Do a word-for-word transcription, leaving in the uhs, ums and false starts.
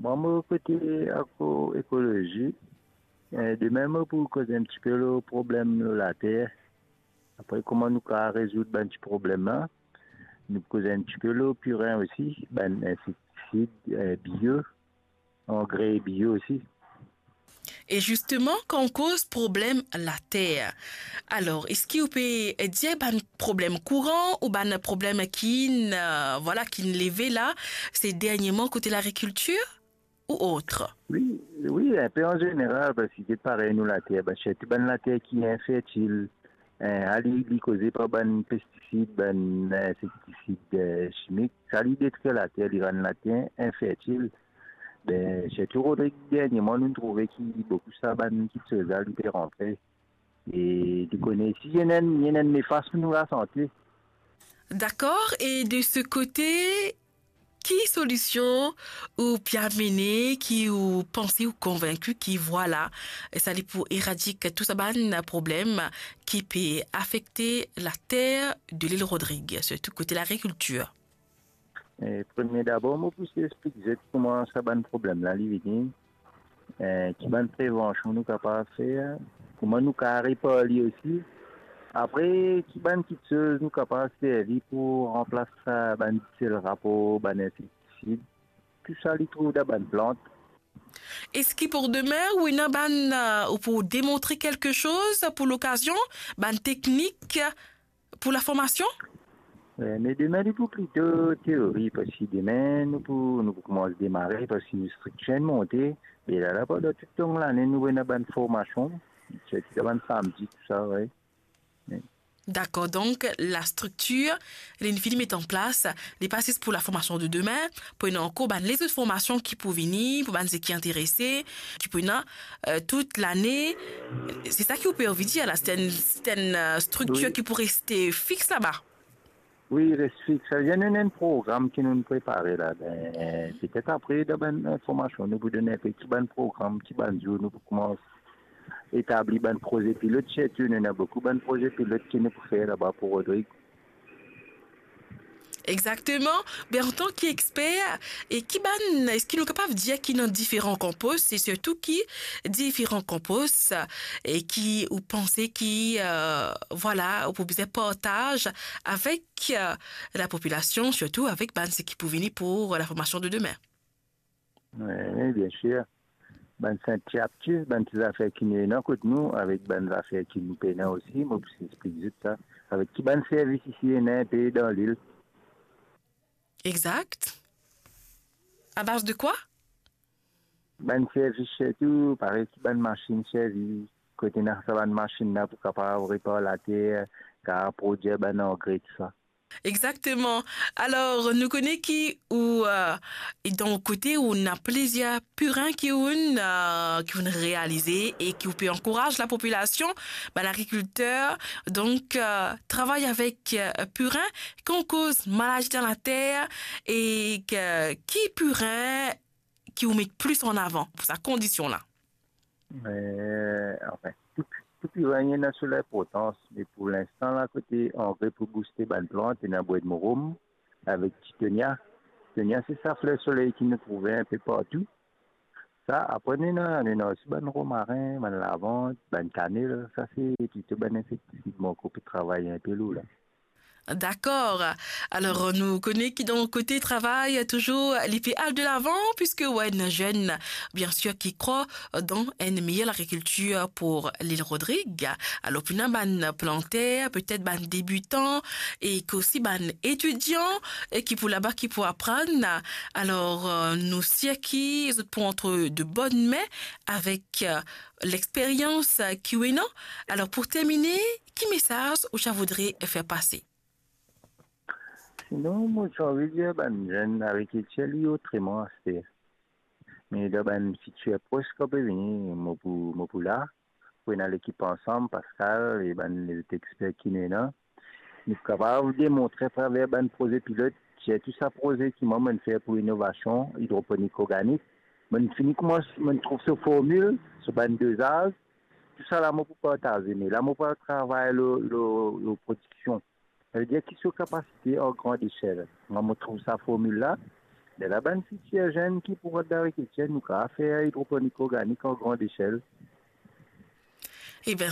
Mwa, mo kote agroekolozi, eh, demin mo pou koz enn tipe lor problem lor later. Apre, kouma nou kapav rezoud bann ti problem la, nou pou koz enn tipe lor pirin osi, bann insektisid, eh, bio, angre bio osi. E zisteman, kan ou koz problem later, alor, eski ou pe dir bann problem kouran ou bann problem ki'nn, eh, vwala, ki'nn leve la, se dernieman kote lagrikiltir ou ot? Wi, wi, enpe an zeneral, parski get parey nou later, bann, sirtou bann later ki infertil, eh, ali, li koze par bann pestisid, bann insektisid, eh, simik, sa li detrir later, li rann later infertil. Be, sirtou Rodrig, dernieman, nou trouve ki boukou sa bann kiksoz la, li pe rantre. E nou kone si ena enn, ena enn nefas pou nou lasante. Dakor, e de se kote, ki solision ou pe amene, ki ou panse, ou konvinki ki vwala, sa li pou eradik tou sa bann problem ki pe afekte later de Lil Rodrig, sirtou kote lagrikiltir? E premie dabor, mo pou explik zot kouma sa bann problem la li vini, eh, ki bann prevansion nou kapav fer, kouma nou kapav repar li osi. Apre, ki bann kiksoz nou kapav servi pou ranplas sa bann disel rapor, bann insektisid, tou sa li trouv dan bann plant. Eski pou demin, ou ena bann, eh, ou pou demontre kelke soz pou lokazion, bann teknik, pou laformasion? Eh, me demin li pou plito teori, parski demin nou pou, nou pou koumans demare, parski nou striktir inn monte, e la, la, pandan tou long lane, nou ena bann formasion, sirtou dan bann samdi, tou sa, wi. Wi. Dakor, donk, lastriktir, li fini met an plas, li pa zis pou laformasion de demin, pou ena ankor bann lezot formasion ki pou vini, pou bann seki interese, ki pou ena, eh, tout lane. Se sa ki ou pe anvi dir la, se enn, se enn, eh, striktir, wi, ki pou reste fix laba? Wi, res fix. Savedir nou ena enn program ki nou prepare la. Be, petet apre, dan bann informasion, nou pou donn enpe ki bann program, ki bann zour nou pou koumans etabli bann proze pilot. Sirtou, nou ena boukou bann proze pilot ki nou pou fer laba pou Rodrig. Exakteman. Be, antan ki exper, e ki bann, eski nou kapav dir ki ena diferan kanpos, e sirtou ki diferan kanpos, e ki ou panse ki, eh, vwala, ou pou bizin partaz avek, eh, lapopilasion, sirtou avek bann seki pou vini pou laformasion de demin? Wi, wi, bien sir. Bann senti apti, bann ti zafer ki nou ena kot nou, avek bann zafer ki nou pena osi, mo pou explik zot sa. Avek ki bann servis isi ena enpe dan lil. Exakt. A baz de kwa? Bann servis sirtou, parey ki bann masinn servi, kot ena sa bann masinn la pou kapav repar later, kapav prodir bann angre, tou sa. Exakteman. Alor, nou kone ki ou, eh, e dan ou kote, ou ena plizier pirin ki ou'nn, eh, ki ou'nn realize e ki ou pe ankouraz lapopilasion, bann agrikilter, donk, eh, travay avek, eh, pirin, kan ou koz maladi dan later, e ki, ki pirin ki ou met plis an avan pou sa kondision la? Eh, anfin, tou, tou pirin ena so linportans, me pou linstan la, kote angre pou bouste bann plant, ena bwedmorom avek titonia. Titonia, se sa fler soley ki nou trouve enpe partou. Sa, apre nou ena, nou ena osi bann romarin, bann lavand, bann kanel, sa se plito bann insektisid, mo ankor pe travay enpe lor la. Dakor. Alor, nou kone ki dan kote travay, touzour, li pe al de lavan, piske ou ena zenn, bien sir, ki krwar dan enn meyer lagrikiltir pou Lil Rodrig. Alor, pou ena bann planter, petet bann debitan, e ki osi bann etidian, e ki pou laba, ki pou aprann. Alor, nou sir ki zot pou antre de bonn min avek, eh, lexperyans, eh, ki ou ena. Alor, pou termine, ki mesaz ou ti a voudre fer pase? Sinon, mo ti anvi dir bann zenn, lagrikiltir li otreman aster. Me dan bann fitir pros ki pe vini, mo pou, mo pou la, pou ena lekip ansam, Pascal e bann lezot exper ki nou ena. Nou kapav demontre atraver bann proze pilot, sirtou sa proze ki mwa mo'nn fer pou inovasion idroponik organik. Mo'nn fini koumans, mo'nn trouv so formil, so bann dozaz, tou sa la mo pou partaze, me la mo pou al travay lor, lor, lor prodiksion. Savedir ki so kapasite an grand echel. Mwa, mo trouv sa formil la, Lerla bann fitir zenn ki pou rod larikitir, nou kapav fer idroponik organik an grand echel. Eben,